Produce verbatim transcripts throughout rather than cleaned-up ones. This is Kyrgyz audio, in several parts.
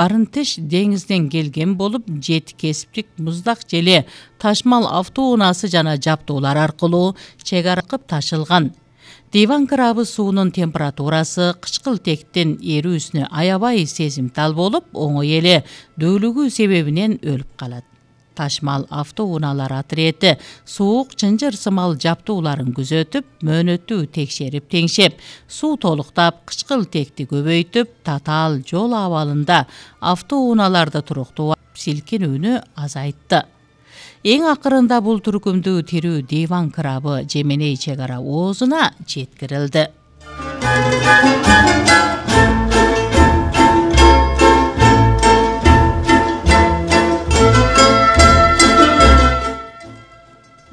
Арынтыш деңизден келген болуп, жети кесиптик муздак желе, ташмал автоунаасы жана жаптоолар аркылуу чек ара кылып ташылган. Диван крабы суунун температурасы кычкылтектин эрүүсүнө аябай сезимтал болуп, оңой эле дөөлүгүү себебинен өлүп калат. Ташмал автоунаалар отрети суук чынжыр сымал жаптууларын күзөтүп, мөөнөттүү текшерип теңшеп, суу толуктап, кычкылтекти көбөйтүп, татаал жол абалында автоунааларды туруктуу силкинүүнү азайтты. Эң акырында бул түркүмдүү тирүү диван крабы Жеменей чек ара оозуна жеткирилди.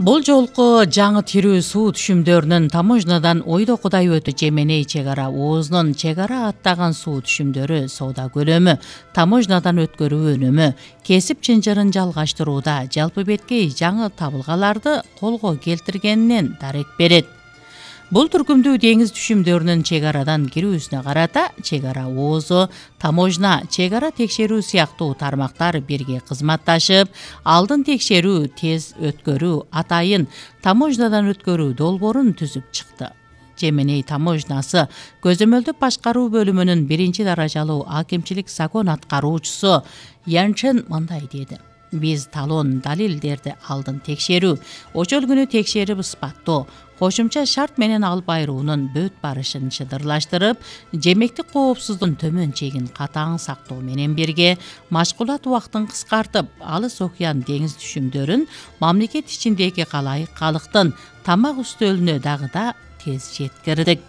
Бул жолку жаңы тирүү суу түшүмдөрүнүн таможнядан ойдокудай өтүп, Жеменей чек ара оозунун чек ара аттаган суу түшүмдөрү соода көлөмү, таможнядан өткөрүү өнүмү, кесип чынжырын жалгаштырууда жалпы беткей жаңы табылгаларды колго келтиргенинен дарек берет. Бул түркүмдүү деңиз түшүмдөрүнүн чек арадан кирүүсүнө карата чек ара оозу, таможня, чек ара текшерүү сыяктуу тармактар бирге кызматташып, алдын текшерүү, тез өткөрүү, атайын таможнядан өткөрүү долбоорун түзүп чыкты. Жеменей таможнясы көзөмөлдүк башкаруу бөлүмүнүн биринчи даражалуу акимчилик закон аткаруучусу Янчен мындай деди: Биз талон далилдерди алдын текшерүү, ошол күнү текшерип ысбаттоо, кошумча шарт менен алып айруунун бөт барышын чыдырлаштырып, жемектик коопсуздуктун төмөн чегин катаң сактоо менен бирге машгулат убактын кыскартып, алыс океан деңиз түшүмдөрүн мамлекет ичиндеги калай калктын тамак үстөлүнө дагы да тез жеткирдик.